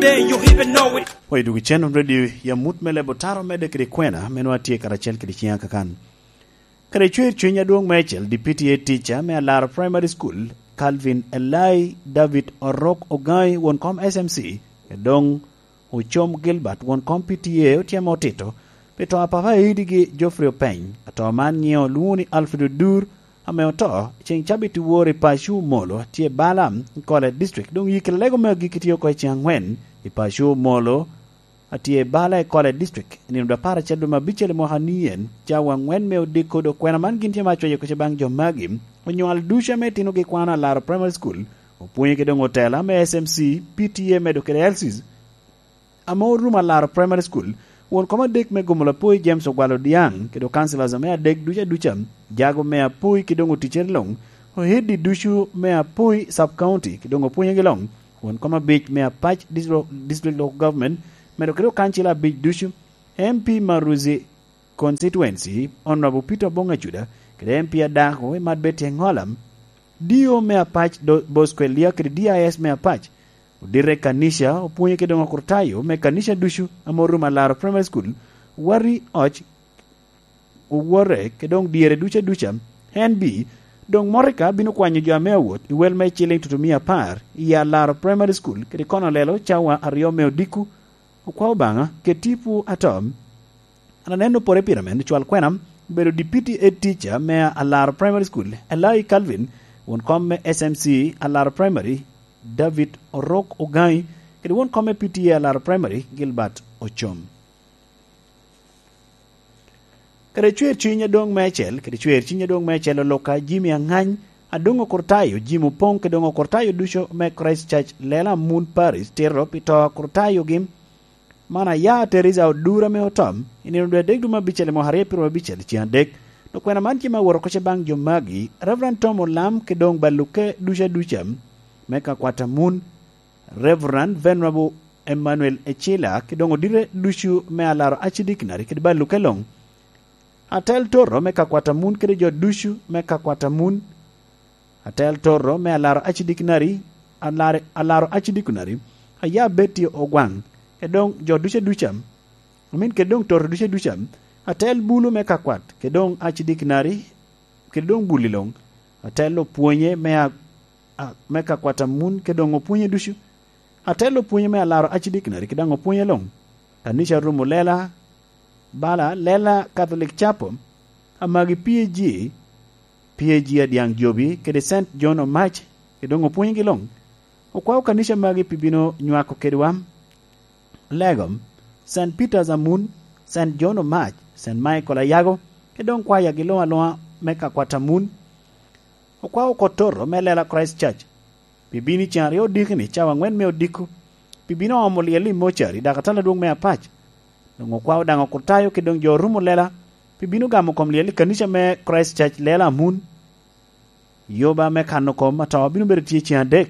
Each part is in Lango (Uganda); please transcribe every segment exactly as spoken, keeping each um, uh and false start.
Then you even know it. Oyo dwogo cen radio i amut me lebo taro medde kede kwena me nwa tye karacel kede ciŋa kakan. Kede cwer cuny adwoŋ me acel, D P T A teacher me Alaro Primary School, Calvin Elai David Orok Ogai, won kom S M C, kede doŋ Ocom Gilbert, won kom P T A, otyemo otito pi to a papa Eidigi Geoffrey Openy. Ato man nyiŋe olwoŋo ni Alfred Odur, ame oto ceŋ cabit i wor i paco Omolo, tye i Balaam i Kole District. Doŋ yikki lalego me agikki tye oko i ceŋ aŋwen i paco Omolo, a tye i Bala i Kole District, i nino dwe apar acel dwe me abicel i mwaka ni en, cawa aŋwen me odiko. Dok kwena man gin tye me acweyo kece baŋ jo magi, onywal ducu ame itinogi kwano Alaro Primary School, opwonye kede doŋ otela me S M C, P T A medo kede L Cs, ame orumo Alaro Primary School, won kom adek me Gomola Poi James Ogwal Odiaŋ, kede councillors me adek ducu aduca, jago me Apoi kede doŋ oticere luŋ, ohead ducu me Apoi Sub County kede doŋ opwonyegi luŋ, won kom abic me Apac District, District Local Government, medo kede okancila abic ducu, M P Maruzi Constituency, Honorable Peter Obong Acuda, kede M P Adako i Mad Betty Engola, D O me Apac Do-, Bosco Elia kede D I S me Apac, odite kanica, opwonye kede doŋ okurtayo me kanica ducu ame orumo Alaro Primary School, wari oc, owote, kede doŋ dyere ducu aduca. N B, doŋ motoka bino kwanyo jo ame awot i wel me ciliŋ tutumia apar i Alaro Primary School, kede kono lelo cawa aryo me odiko. Okwa Obaŋa, keti pwo ato. An aneno pore pire men, cwal kwena, obedo deputy head teacher me Alaro Primary School, Elai Calvin, won kom me S M C Alaro Primary, David Orok Ogai, kede won kom me P T A Alaro Primary, Gilbert Ocom. Kede cwer cwiny adoŋ me acel, kede cwer cwiny adoŋ me acel oloka Jimmy Angany, adoŋ okurtayo, Jimmy Opong, kede doŋ okurtayo ducu me Christ Church, Lela Moon Parish, tito pi to okurtayogi. Man aya Teresa Odura ame otom, i nino dwe adek dwe me abicel i mwaka aryo pyeraryo abicel ceŋ adek. Dok kwena man tye me awot oko ce baŋ jo magi, Reverend Tom Olam, kede doŋ baluke ducu aduca me ka kwat a Moon, Reverend Venerable Emmanuel Ecila, kede doŋ odite ducu me Alaro Archdeaconry, kede baluke luŋ. Atel Toto me ka kwat a Moon, kede jo ducu me ka kwat a Moon. Atel Toto me Alaro Archdeaconry, Alaro, Alaro Archdeaconry, aya Betty Ogwaŋ, kede doŋ jo ducu aduca, amin kede doŋ Toto ducu aduca, atel Bulu me ka kwat, kede doŋ Archdeaconry, kede doŋ Bulu luŋ, atel opwonye me a-, a-, me ka kwat a Moon, kede doŋ opwonye ducu, atel opwonye me Alaro Archdeaconry, kede doŋ opwonye luŋ, kanica rumo lela, bala, lela Catholic Chapel, amagi P A G, P A G Adyaŋ Jobi, kede Saint John Omac, kede doŋ opwonygi luŋ. Okwao kanica magi pi bino nywako kedwa. Legom, Saint Peter's Amun, Saint John Omac, Saint Michael Ayago, kede doŋ kwayagi luŋ aluŋa me ka kwat Amun. Okwao Kotoro me lela Christ Church, pi bino i ceŋ aryo odiki-ni cawa aŋwen me odiko, pi bino omo lyel i mocari, dak atala adwoŋ me Apac. Doŋ okwao daŋ okurtayo kede doŋ jo orumo lela, pi bino gamo kom lyel i kanica me Christ Church lela Amun. Yoba me kano kom ato bino bedo tye ceŋ adek,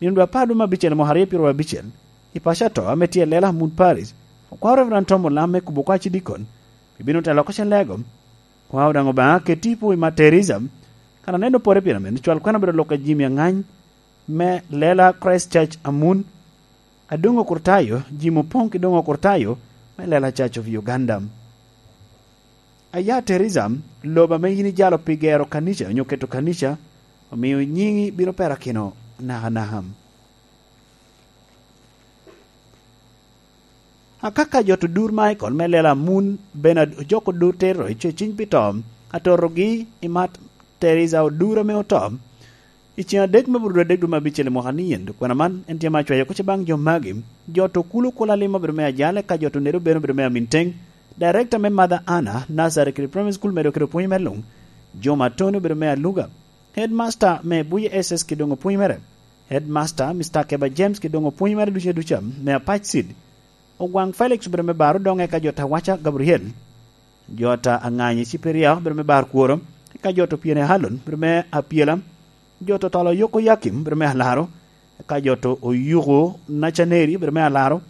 nino dwe apar dwe me abicel mwaka aryo pyeraryo abicel, i paco ato ame tye i lela Amun Parish. Okwao Reverend Tom Olam me kubo kwaci dikon, pi bino telo oko ce lego. Kwao daŋ Obaŋa keti i pwo i Matt Teresa, kan aneno pore pire men, cwal kwena obedo lok a Jimmy Angany, me lela Christ Church Amun, Adongo Kurtayo, Jimmy Opoŋ ki Dongo Kurtayo, me lela Church of Uganda. Aya Teresa, lobo ame yin ijalo pi gero kanica onyo keto kanica, omiyo nyiŋi bino perakino nakanaka. Akaka jot odur Michael me lela Amun, Bernard Ojok odur Tero i Ceciny pi to, atorogi i Matt Teresa odur ame oto. I ceŋ adek me bur dwe adek dwe me abicel i mwaka ni yen, dok kwena man en tye me acwayo oko ce baŋ jo magi. Jot okulu kula lim obedo me ajale, ka jot onedo bene obedo me amin teŋ. Director me Mother Anna Nursery kede Primary School medo kede opwony me luŋ. Jo Matoni obedo me aluga. Headmaster me Buye S S ki doŋ opwony mere. Headmaster, Mister Keba James ki doŋ opwony mere ducu aduca me Apac Seed. Ogwaŋ Felix obedo me bar Odoŋe, ka jot Awaca Gabriel. Jot Aŋanyi Ciperia obedo me bar Kworo, ka jot Opyene Halon obedo me Apyela. Jot Otolo Yoko Yakim obedo me Alaro, ka jot Oyuko Nacaneri obedo me Alaro.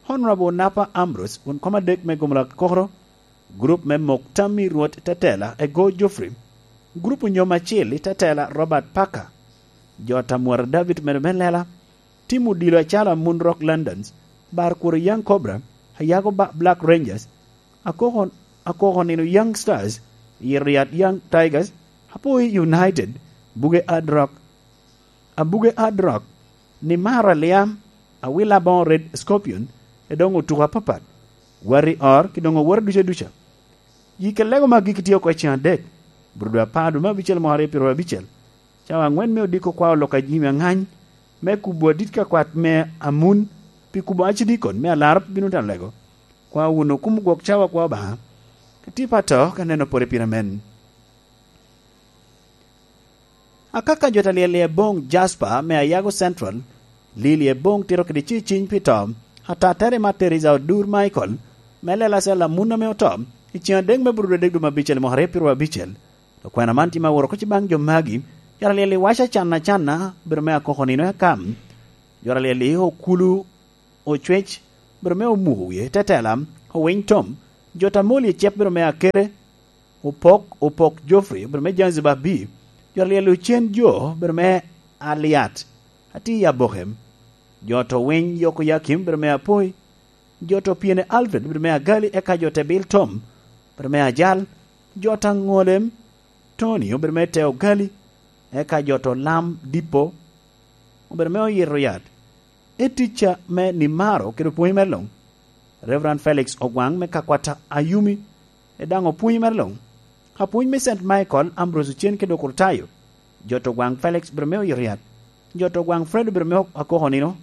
Honorable Napa Ambrose, won kom adek me Gomola Kokoro, gurup me Mok Tammy Rwot Tetela, Ego Geoffrey, gurup Onyom Acil i Tetela, Robert Parker, jot Amwara David medo me lela, tim odilo acalo Amun Rock Londons, Bar Kuro Young Cobra, Ayago Ba-, Black Rangers, Akoko, Akoko Nino Young Stars, Yiriat Young Tigers, Apoi United, Buge Hard Rock, Abuge Hard Rock, Nimaro Aliam, Awila Aboŋo Red Scorpion, edoŋ otuko apapat, Wari Or, ki doŋ owote duca duca. Yi kede lego me agikki tye oko i ceŋ adek, Burudu apar dwe me abicel mwaka aryo pyeraryo abicel, cawa aŋwen me odiko kwao lok a jami aŋany, me kubo adit ka kwat me Amun, pi kubo acidikon me alaro pe bino tano lego. Kwa wunu kum gwok cawa kwa Obaŋa, ka tye pa to, ka neno pore pire men. Akaka jo ta lyel i Eboŋ Jasper me Ayago Central, Lili Eboŋ tito kede ciciny pi to, Atatere ma Teresa Odur Michael, me Lela Cell Amun ame oto, i ceŋ adek me Burudu adek dwe me abicel i mwaka aryo pyeraryo abicel. Okwena man tye me aworo oko cibaŋ jo magi, jo ta lyel i Waca Can Acanna, bedo me Akoko Nino Akam, jo ta lyel i Okulu Ocwec, bedo me Omuko Wie, Tetela, Owiny Tom, jo ta moli i cep bedo me Akere, Opok, Opok Geoffrey, bedo me Zanzibar B, jo ta lyel i Ocen Jo, bedo me Aliat, Ati Aboke, jo ta Owiny Yoko Yakim, bedo me Apoi, jo ta Opiene Alfred, bedo me Agali, eka jo ta Ebil Tom, bedo me Ajal, jo ta Ŋolem, Tony, obedo me Teo Gali, eka jo ta Olam Dipo, obedo me Oyito Yat, eticca me Nimaro kede opwony mere luŋ, Reverend Felix Ogwaŋ me Kakwata Ayumi, e daŋ opwony mere luŋ, apwony me Saint Michael, Ambrose Ocen kede Okurtayo, jo ta Ogwaŋ Felix obedo me Oyito Yat, jo ta Ogwaŋ Fred obedo me Akoko Nino,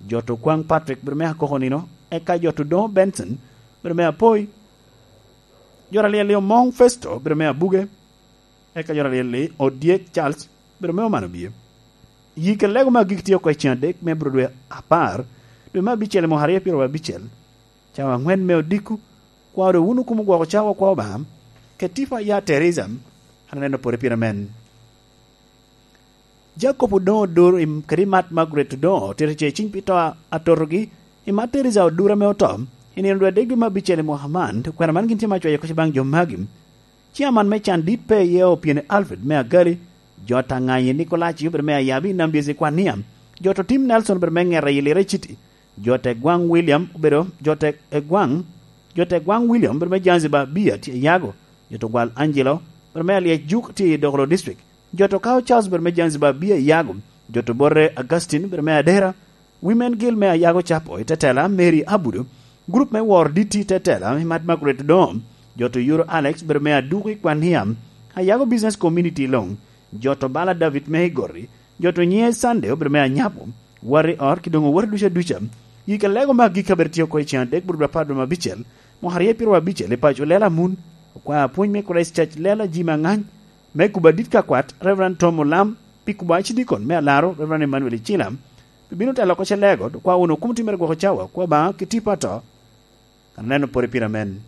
jo ta Okwaŋ Patrick obedo me Akoko Nino, eka jo ta Odoŋo Benson obedo me Apoi, jo ta lyel i Omoŋ Festo obedo me Abuge, eka jo ta lyel i Odyek Charles obedo me Oman Obie. Yi kede lego me agikki tye oko i ceŋ adek me Burudu dwe apar, dwe me abicel i mwaka aryo pyeraryo abicel, cawa aŋwen me odiko, kwa doŋ wun okumo gwoko cawa kwa Obaŋa, kede tipo a ya Teresa, an aneno pore pire men. Jacob Odoŋo Odur i, kede Mat Margaret Odoŋo otito ce ciny pi to a, atotogi, i Mat Teresa Odur ame oto, i nino dwe adek dwe me abicel i mwaka man, okwena man gin tye me acwayo kec baŋ jo magi. Ciaman me can dit pe iye Opiene Alfred me Agali, jo ta Ŋanyi Nikolaci obedo me Ayabi i Nambyesi Kwania, jo ta Tim Nelson obedo me Ŋeta i Lira City, jo ta Egwaŋ William obedo, jo ta Egwaŋ, jo ta Egwaŋ William obedo me Zanzibar Bia tye i Yago, jo ta Ogwal Angelo obedo me Alyec Juk tye i Dokolo District, jo ta Okawo Charles obedo me Zanzibar Bia i Yago, jo ta Obote Augustine obedo me Adera, Women Guild me Ayago Capo i Tetela, Mary Abudu, gurup me Wor D T Tetela, i Mat Margaret Odoŋo, jo ta Oyuro Alex obedo me Aduku i Kwania, Ayago Business Community luŋ, jo ta Obala David me Igoti, jo ta Onyiŋe Sunday obedo me Anyapo, Wari Or, ki doŋ owote duca duca. Yi kede lego me agikki abedo tye oko i ceŋ adek Burudu apar dwe me abicel, mwaka aryo pyeraryo abicel, i paco Lela Amun, okwao apwony me Christ Church Lela Jim Aŋany, me kubo adit ka kwat, Reverend Tom Olam, pi kubo acidikon me Alaro, Reverend Emmanuel Icila, pi bino telo oko ce lego, dok kwa wunu kum timmere gwoko cawa, kwa Obaŋa ki tipo ato, aneno pore pire men.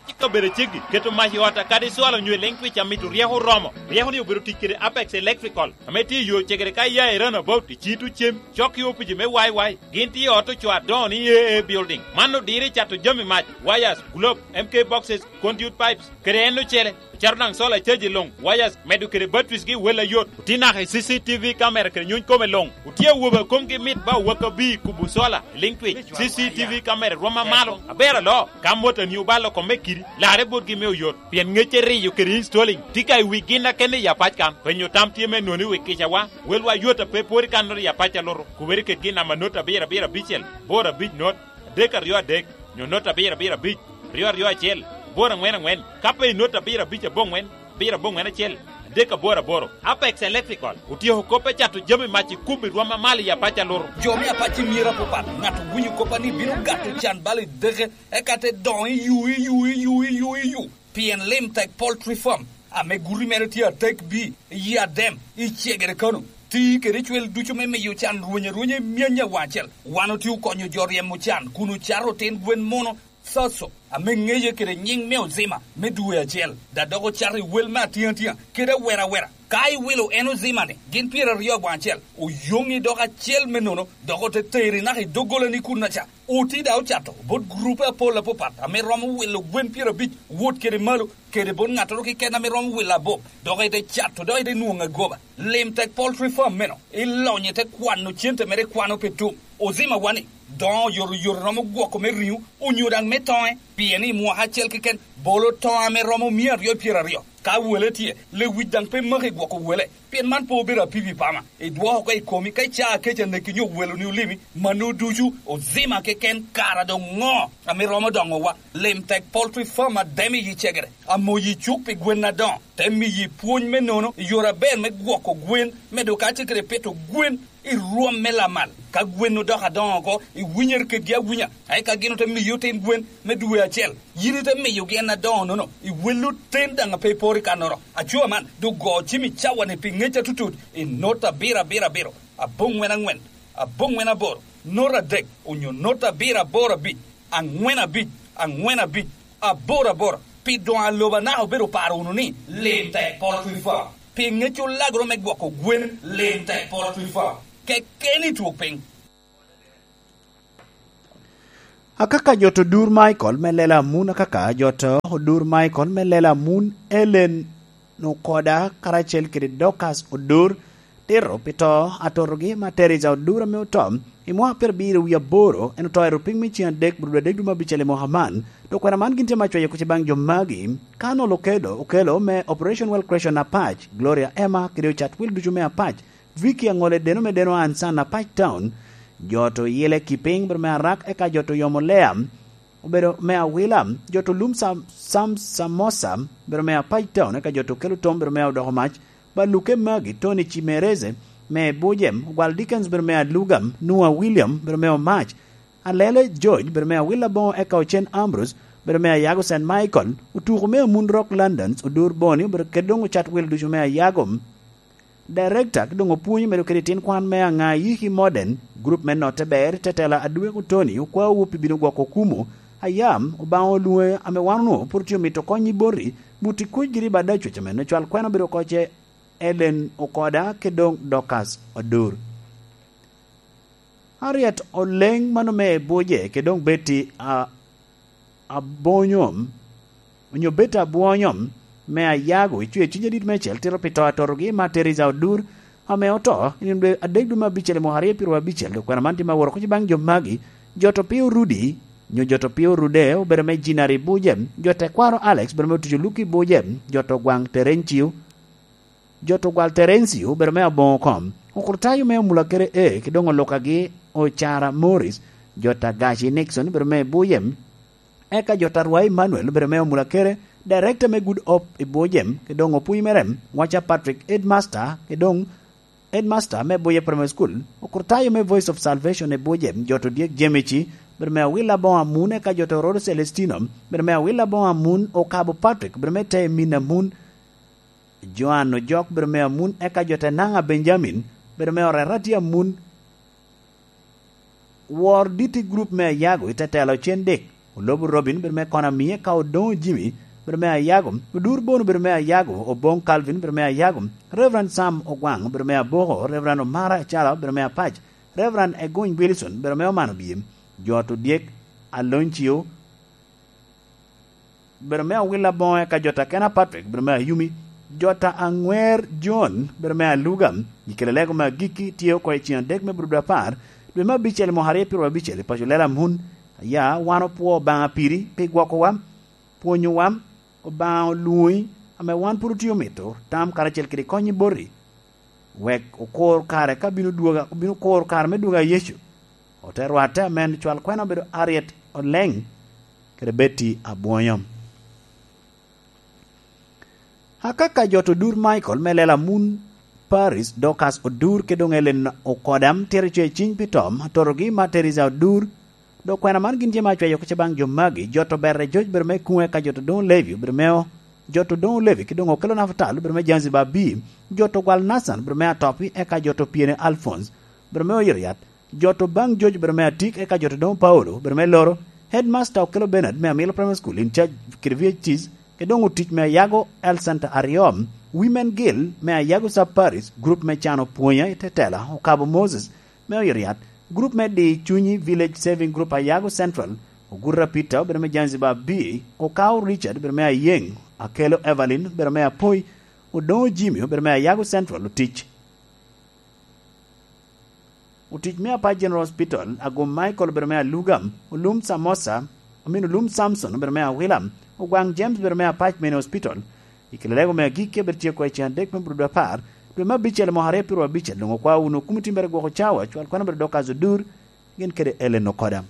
Cik obedo ceggi, keto mac i ot a kadi cwalo nyo i Lentwich amito ryeko oromo. Ryeko ni obedo tic kede Apex Electrical, ame tye i yo cegere ka iya i Runabout i Cito Cem, cok i opici me Y Y. Gin tye i ot ocoo adoŋo ni A A Building. Man odiro i cato jami mac, wires, globe, M K boxes, conduit pipes, kede en ocele. Ocato daŋ solar charge luŋ, wires, medo kede batteries gi wel ayot. Otye naka i C C T V camera kede nyuny kome luŋ. Otye awobe a komgi mit ba owaka bi i kubo solar i Lentwich. C C T V camera rwom amalo. Aber aloo, ka motani obalo kome kidi, larre botgi me oyot. Pien ŋecce riyo kede installing tye ka i wi gin akene i apac kan. Penyo tam tye me noni wi kicawa. Welwa yot a pe pwod i kannoro i apac a luto. Kubere kedgi i namba not abiro abiro abicel, boro abic not, adek aryo adek, nyo not abiro abiro abic, aryo aryo acel, aboro aŋwen aŋwen, ka pe i not abiro abic aboŋwen, abiro aboŋwen acel, adek aboro aboro. Apex Electrical otyeko kop me cato jami mac i kubo i rwom amalo i apac a luto. Jo me apac i myero apapat, ŋat owinyo kop a ni bino gato can bal i deke, eka te doŋo i yu, i yu, i yu, i yu, i yu. Pien Lim Tech Poultry Farm, ame guti mere tye adek bi, i Adem, i Cegere Kano, ti kede cwel ducu me miyo can rweny arwenya i myany awaŋ acel. Wan otye okonyo jo ryemo can kun ocato otin gwen muno, Thoso, ame ŋeye kede nyiŋ me Ozima me dwe acel, da dok ocato i wel me atiŋ atiŋa kede awera awera. Ka iwilo en ozimani, gin pyeraryo aboŋ acel, oyoŋi dok acel me nono, dok ote teri naka i doggolani kunnaca. Oti daŋ ocato bot gurupe apol apapat ame romo wilo gwen pyerabic wot kede malo, kede bot ŋattoro keken ame romo wilo abop, dok ite cato, dok ite nwoŋo agoba. Lim tek poultry farm meno, ilonyo ite kwano cente mere ikwano pe tum. Ozima wani, doŋo oyotoyot romo gwoko me riŋo, onyo daŋ me toŋe, pien i mwaka acel keken bolo toŋo ame romo mia aryo pyeraryo. Ka wele tye, lewic daŋ pe maki gwoko wele, pien man pe obedo apipi pama. Idwoko oko i komi ka icaa kec aneki nyo weloni olimi, mano ducu ozima keken kara doŋ ŋo ame romo doŋowa. Lim tek poultry farm ademo iyi cegere, amoyi cuk pi gwen adoŋo, te miyi pwony me nono i yore aber me gwoko gwen, medo kacel kede pito gwen i rwom me lamal. Ka gwen odoko adoŋo oko, iwinyere kedgi awinya, eka gin ote miyi otin gwen me dwe acel. Yin ite miyogi en adoŋo-nono, iwello ten daŋ a pe iporo i kannoro. Aco man, doŋ go cim i cawa-ni pi ŋec atutut, i not abiro abiro abiro, aboŋwen aŋwen, aboŋwen aboro, not adek, onyo not abiro aboro abic, aŋwen abic, aŋwen abic, aboro aboro. Pi doŋ a lobo anaka obedo paro wunu ni, lim tek poultry farm. Pi ŋec olagoro me gwoko gwen, lim tek poultry farm. Kekeni twok piny. Akaka jot odur Michael me lela amun, akaka jot odur Michael me lela amun, Ellen Okoda karacel kede Dorcas Odur, tito pi to atotogi ma Teresa Odur ame oto i mwaka pyerabiro wie aboro, en oto i rupiny me ceng adek, bur adek dwe me abicel i mwaka man. Dok kwena man gin tye ma cwayo kuc baŋ jo magi, Colonel Okedo, Okelo me Operation Well Creation Apac, Gloria Emma, kede ocat wil ducu me Apac, Vicky Aŋole Deno me Deno Ansan Apac Town, jot oyile Kiping, bero me Arak, eka jot oyomo Lea, obedo me Awila, jot olum Sam, Sam Samosa, bero me Apac Town, eka jot okelo Tom, bero me Odoko Mac, Baluke Magi, Tony Chimereze, me Bujem, Ogwal Dickens, bero me Alugam, Nua William, bero me Omac, Alele George, bero me Awila Boŋo, eka Ocen Ambrose, bero me Ayago Saint Michael, Otuko me Amun Rock Londons, Odur Boni, bero kede doŋ ocat wil ducu me Ayago. Director, ki doŋ opwonyo medo kede tin kwan me aŋa Yiki Modern, group me notte ber, tetela Adweko Tony, okwaowu pi bino gwoko kumo, ayam, Obaŋa olwoŋe ame wan onwoŋo pwod tye omito kony i boti, buti kuc giri bada cwec ame nocwal kwena obedo oko ce Ellen Okoda, ki doŋ Dorcas Odur. Harriet Oleng mano me Ebuje, ki doŋ Betty a, Abonyom, onyo Betty Abwonyom me Ayago, icwe cwiny adit meicel tito pi to atotogi ma Teresa Odur, ame oto i nino dwe adek dwe me abicel i mwaka aryo pyeraryo abicel, dok kwena man tye ma woro kuc baŋ jo magi, jot opio Rudi, nyo jot opio Rude, obedo me Jinari Buje, jot tekwaro Alex, obedo me otuco Luki Buje, jot ogwaŋ Terencio, jot ogwal Terencio, obedo me Aboŋo kom, okurtayo me Omulakere E, ki doŋ olukagi Ocara Morris, jot Agaci Nixon, obedo me Buje, eka jot Arwai Emmanuel, obedo me Omulakere, director me Good Hope i Buje, ki doŋ opwony mere, waca Patrick Headmaster, ki doŋ Headmaster me Buje Primary School, okurtayo me Voice of Salvation i Buje, jot Odyek Jemici, obedo me Awila Boŋo Amun, eka jot Orodo Celestino, obedo me Awila Boŋo Amun, Okabo Patrick, obedo me Te Min Amun, Joan Ojok, bedo me Amun, eka jo Tenaŋa Benjamin, bedo me Orerati Amun, wor dit i gurup me Ayago i tetelo Cen Dek, Olobo Robin, bedo me Konami, eka Odoŋo Jimmy, bedo me Ayago, Odur Bono, bedo me Ayago, Oboŋ Calvin, bedo me Ayago, Reverend Sam Ogwaŋ, bedo me Aboko, Reverend Omara Acalo, bedo me Apac, Reverend Egony Wilson, bedo me Omano Biem, jo Odyek, Aloncio, bedo me Awila Boŋo, eka jot Akena Patrick, bedo me Ayumi, jot Aŋwer John, bedo me Aluga. Gikele lego me agikki tye oko i ceng adek me bur dwe apar, dwe me abicel i mwaka aryo pyeraryo abicel i paco Lela Mun. Aya, wan opwo Obaŋa piri pi gwokowa, pwonyowa, Obaŋa olwoŋi, ame wan pwod otye omito tam karacel kede kony i boti. Wek okur kare ka bino dwoga, obino kuro kare me dwoga a Yecu. Ote rwatte amen cwal kwena obedo Harriet Oleng kede Betty Abwonyom. Akaka jot Odur Michael me Lela Mun, Paris, Dorcas Odur, kede doŋ Ellen Okodam, tito coc ciny pi tom, atotogi ma Teresa Odur, dok kwena man gin tye ma acweyo kuca baŋ jo magi, jot Oberre George bedo me Kuŋe, eka jot Odoŋo Levi bedo me o-, jot Odoŋo Levi, ki doŋ Okelo Nafatal bedo me Zanzibar B, jot Ogwal Nathan bedo me Atopi, eka jot Opyene Alphonse bedo me Oyotoyat, jot Obaŋ George bedo me Atik, eka jot Odoŋo Paulo bedo me Loro, Headmaster Okelo Bernard me Amilo Primary School in charge kede V H Cs, ki doŋ otic me Ayago Health Center aryo, Women Guild me Ayago Sub Parish, gurup me cano pwonya i tetela, okabo Moses me Oyoriat, gurup me di cunyi Village Saving Group Ayago Central, Oguta Peter, obedo me Zanzibar B, Okao Richard, obedo me Ayeng, Akelo Evelyn, obedo me Apoi, Odongo Jimmy, obedo me Ayago Central, otic. Otic me Apac General Hospital, Agum Michael obedo me Alugam, Olum Samosa, amin Olum Samson obedo me Awilam, Ogwaŋ James obedo me Apac Mini Hospital. I kare lego me agikki abed tye oko i cen adek me brudo apar, dwe me abicel mwaka aryo pyero abicel, doŋ okwa wunu kumo timbere gwoko cawa, cwal kwan obedo Dorcas Odur, gin kede Ellen Okoda.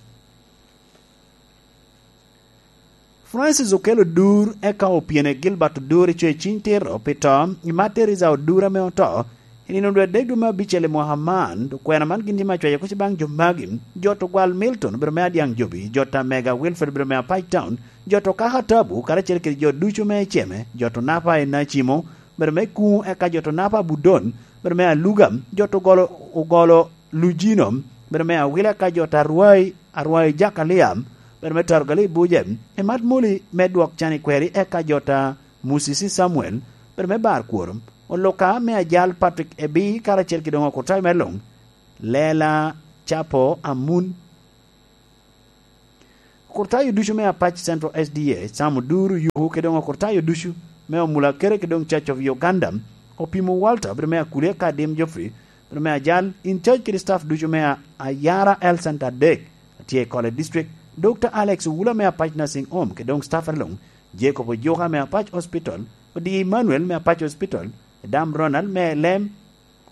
Francis Okello Odur, eka opyene Gilbert Odur i coc ciny tito pi to i Mad Teresa Odur ame oto i nino dwe adek dwe me abicel i mwaka man. Okwena man gin tye me acwayo kuc baŋ jo magi: Jot Ogwal Milton obedo me Adyaŋ Jobi, Jot Amega Wilfred obedo me Apac Town, Jot Okaka Tabu karacel kede jo ducu me Eceme, Jot Onapa i Nacimo obedo me Kuŋo, eka Jot Onapa Budon obedo me Aluga, Jot Ogolo, Ogolo Lujino obedo me Awila, eka Jot Arwai, Arwai Jakalia obedo me Targali Buje, i Mad Muli me Dwok Can i Kweri, eka Jot a Musisi Samuel obedo me Bar Kworo, Oluka me Ajal Patrick Ebi karacel kede doŋ Okurtayo me Luŋ, Lela Capo Amun. Okurtayo ducu me Apac Central S D A, Sam Oduru Yuku kede doŋ Okurtayo ducu me Omula Kere kede doŋ Church of Uganda, Opimo Walter obedo me Akulia, eka Adim Geoffrey obedo me Ajal, in charge kede staff ducu me A-, Ayara Health Center adek, atye i Kole District, Doctor Alex Owula me Apac Nursing Home kede doŋ staff aluŋ, Jacob Ojuka me Apac Hospital, Odi Emmanuel me Apac Hospital, Adam Ronald me Elem,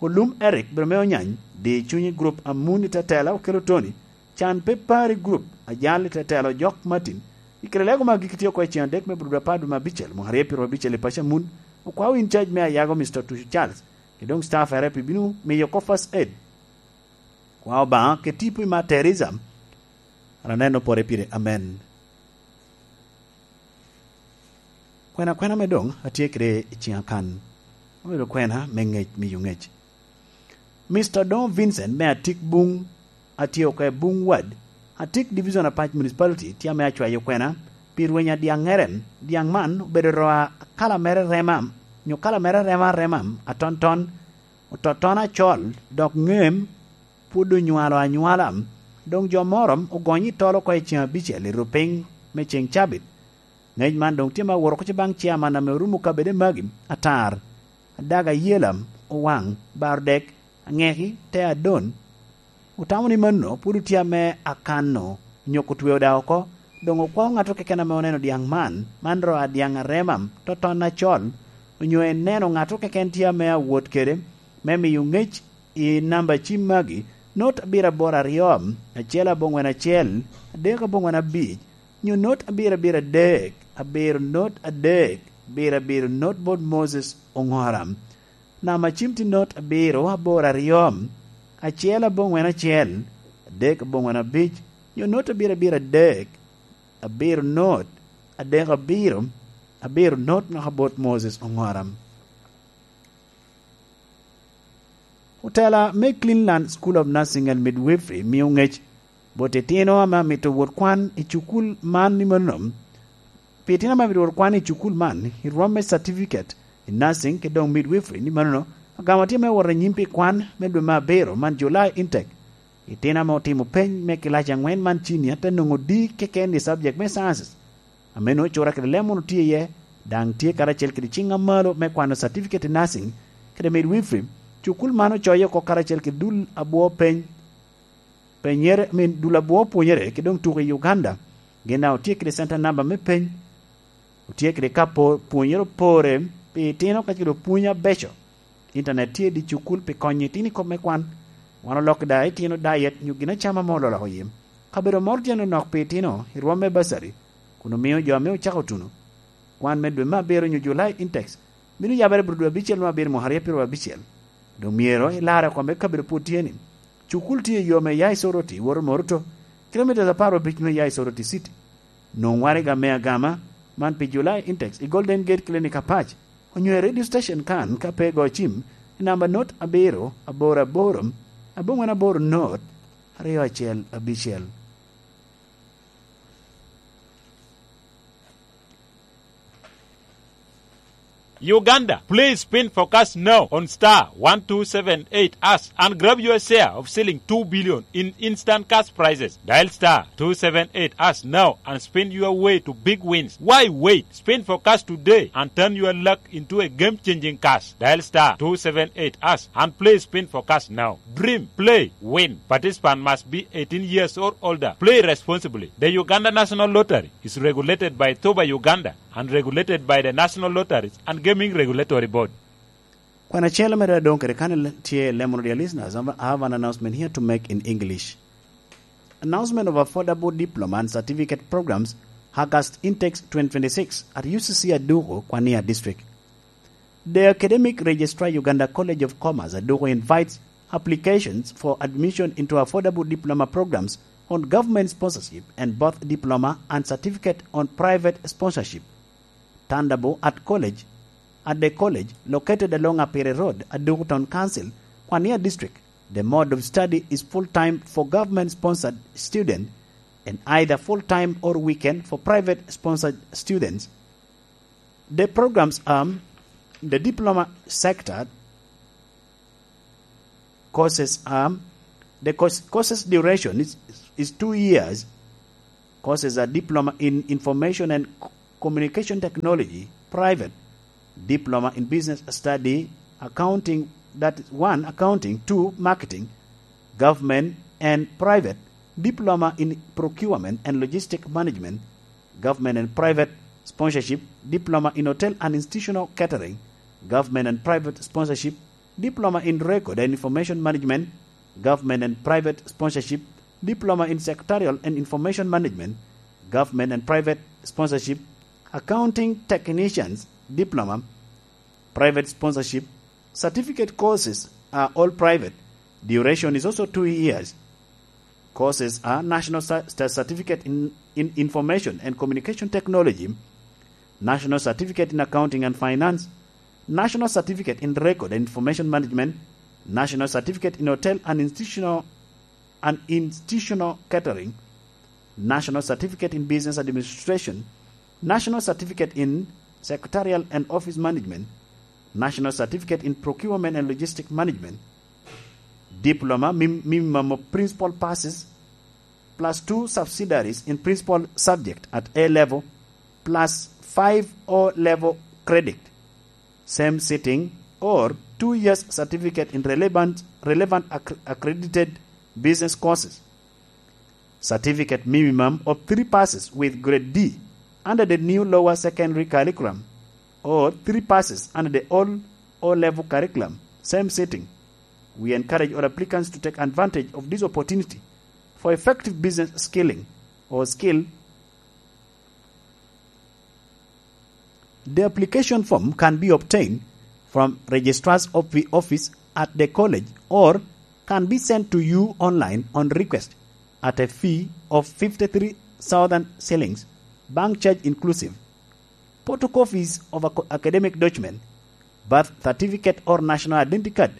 Olum Eric obedo me Onyany, Di Cunyi Group Amun i Tetela Okello Tony, Can Pe Pari Group Ajal i Tetela Ojok Martin. I kare lego me agikki tye oko i cen adek me brudo apar dwe me abicel, mwaka aryo pyero abicel i paco Amun, okwao in charge me Ayago Mister Tucu Charles, kede doŋ staff ere pi bino miyo oko first aid. Kwa Obaŋa kede tipo i Mad Teresa, an aneno pore pire. Amen. Kwena kwena me doŋ atye kede i ciŋa kan, obedo kwena me ŋec, miyo ŋec. Mister Odongo Vincent me Atik Buŋ, atye oko i Buŋ Ward, Atik Division Apac Municipality, tye ame acwayo kwena pi rweny a dyaŋŋere. Dyaŋ man obedo ro a kala mere rema, nyo kala mere rema arema, atonton, ototon acol, dok ŋem pwod onywalo anywala. Doŋ jo moro ogonyo i tol oko i cen abicel i rupiny me cen cabit. Ŋec man doŋ tye me awot oko ce baŋ ciaman ame orumo kabede magi: Atar, Adaga Yelam, Owaŋ, Bardek, Aŋeki, te Adon. Otamo ni mano pwod otye ame akano, onyo otweo da oko. Doŋ okwao ŋato keken ame oneno dyaŋ man, man ro a dyaŋ arema, toton acol, onyo eneno ŋato keken tye ame awot kede, me miyo ŋec i namba cim magi: not abiro aboro aryo, acel aboŋwen acel, adek aboŋwen abic, nyo not abiro abiro adek, abiro not adek, abiro abiro not bot Moses Oŋora. Namba cim tye not abiro aboro aryo, acel aboŋwen acel, adek aboŋwen abic, nyo not abiro abiro adek, abiro not, adek abiro, abiro not naka bot Moses Oŋora. Otela me Cleanland School of Nursing and Midwifery mio ŋec bot itino ame amito wot kwan i cukul man ni mano. Pi itino ame amito wot kwan i cukul man, i rwom me certificate i nursing kede doŋ midwifery ni mano, agamo tye me wot anyim pi kwan me dwe me abiro man, July intake. Itino ame otimo peny me kilac aŋwen man, cinia, te nwoŋo D keken i subject me sciences. Ame nwoŋo cura kede leb munu tye iye, daŋ tye karacel kede ciŋ amalo me kwano certificate i nursing kede midwifery. Cukul man ocoye oko karacel kede dul abwo peny, penyere, I mean, dul abwo pwonyere kede doŋ tuko i Uganda. Gin daŋ otye kede center number me peny. Otye kede ka po-, pwonyere opore pi itino kacel kede pwony abeco. Intanet tye i dye cukul pi konyo itino i kop me kwan. Wan oloko da itino diet nyo gin acama ame ololoko yim. Kabedo moro tye nonok pi itino i rwom me bursary, kun omio jo ame ocako tuno kwan me dwe me abiro nyo July intakes bino yabere bot dwe abicel me abiro mwaka aryo pyeraryo abicel. Doŋ myero ilarre oko me kabedo pwod tye ni. Cukul tye i yo me ya i Soroti, woto Moruto, kilomitas apar abic me ya i Soroti City. Nwoŋ waraga me agama man pi July intakes i Golden Gate Clinic Apac, onyo i radio station kan ka pe igo cim i namba not abiro aboro aboro, aboŋwen aboro not, aryo acel abicel. Uganda, play Spin for Cash now on star one two seven eight hash and grab your share of shilling two billion in instant cash prizes. Dial star two seven eight hash now and spin your way to big wins. Why wait? Spin for Cash today and turn your luck into a game-changing cash. Dial star two seven eight hash and play Spin for Cash now. Dream, play, win. Participant must be eighteen years or older. Play responsibly. The Uganda National Lottery is regulated by Thuba Uganda and regulated by the National Lotteries and Gaming Regulatory Board. Kwan acel mere adong kede kan tye lemon, dear listeners, I have an announcement here to make in English. Announcement of affordable diploma and certificate programs, August intakes twenty twenty-six at U C C Aduku, Kwania District. The Academic Registrar, Uganda College of Commerce, Aduku, invites applications for admission into affordable diploma programs on government sponsorship and both diploma and certificate on private sponsorship. Tandabo at college, at the college located along Apiri Road, Aduku Town Council, Kwania District. The mode of study is full-time for government-sponsored student and either full-time or weekend for private-sponsored students. The programs are the diploma sector courses are, the course, courses duration is, is two years. Courses are diploma in information and c-, communication technology, private, diploma in business study, accounting, that is one, accounting, two, marketing, government and private, diploma in procurement and logistic management, government and private sponsorship, diploma in hotel and institutional catering, government and private sponsorship, diploma in record and information management, government and private sponsorship, diploma in secretarial and information management, government and private sponsorship, accounting technicians, diploma, private sponsorship, certificate courses are all private. Duration is also two years. Courses are national cer-, cer-, certificate in, in information and communication technology, national certificate in accounting and finance, national certificate in record and information management, national certificate in hotel and institutional, and institutional catering, national certificate in business administration, national certificate in secretarial and office management, national certificate in procurement and logistic management, diploma, mim-, minimum of principal passes, plus two subsidiaries in principal subject at A level, plus five O level credit, same sitting, or two years certificate in relevant, relevant acc-, accredited business courses. Certificate minimum of three passes with grade D under the new lower secondary curriculum, or three passes under the old O-level curriculum, same sitting. We encourage all applicants to take advantage of this opportunity for effective business skilling or skill. The application form can be obtained from registrar's of the office at the college or can be sent to you online on request at a fee of fifty-three thousand shillings, bank charge inclusive. Photocopies of ac-, academic document, birth certificate or national identity card,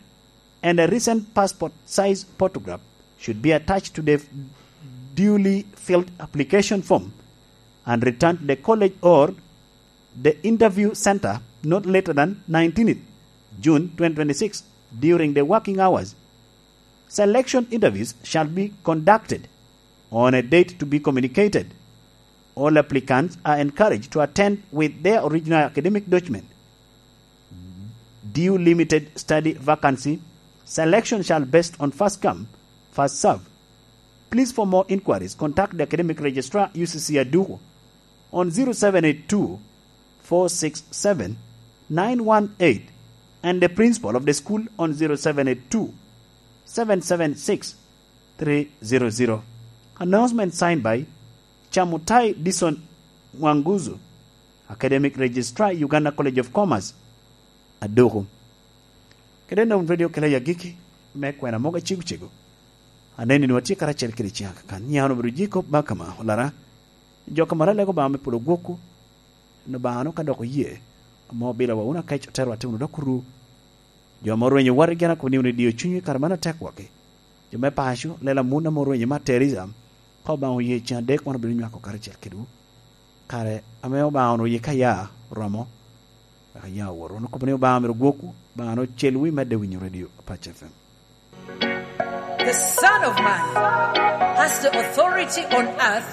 and a recent passport size photograph should be attached to the duly filled application form and returned to the college or the interview center not later than nineteenth June twenty twenty-six during the working hours. Selection interviews shall be conducted on a date to be communicated. All applicants are encouraged to attend with their original academic document. Due limited study vacancy, selection shall based on first come, first serve. Please, for more inquiries, contact the academic registrar, U C C Aduku, on zero seven eight two, four six seven, nine one eight, and the principal of the school on zero seven eight two, seven seven six, three zero zero. Announcement signed by Chamutai Dison Mwanguzu, Academic Registrar, Uganda College of Commerce, Aduku. Kede Nom Radio kela i agikki me kwena mogo acego cego. Aneni nwa tye karacel kede ciŋ akakan. Nyiŋa obedo Jacob Bakama, olara. Jo ka maro alego Obaŋa me polo gwokwu, en Obaŋa no ka dok oye, ame obilowa wunu akec, oterowa te wunu dok oru. Jo ame orwenyo wati gin akobo ni wunu idio cunywu i kare man atek waki. Jo me paco, lela mun ame orwenyo Mother Teresa, ka Obaŋa oye, ciŋ adek wan obino nywako karacel kedwu. Kare ame Obaŋa onwoŋo yika ya oromo, Wek aya wot. Wun okobo ni Obaŋa myero gwokwu, Obaŋa ni ocelwu i medde winyo radio Apac F M. The Son of Man has the authority on earth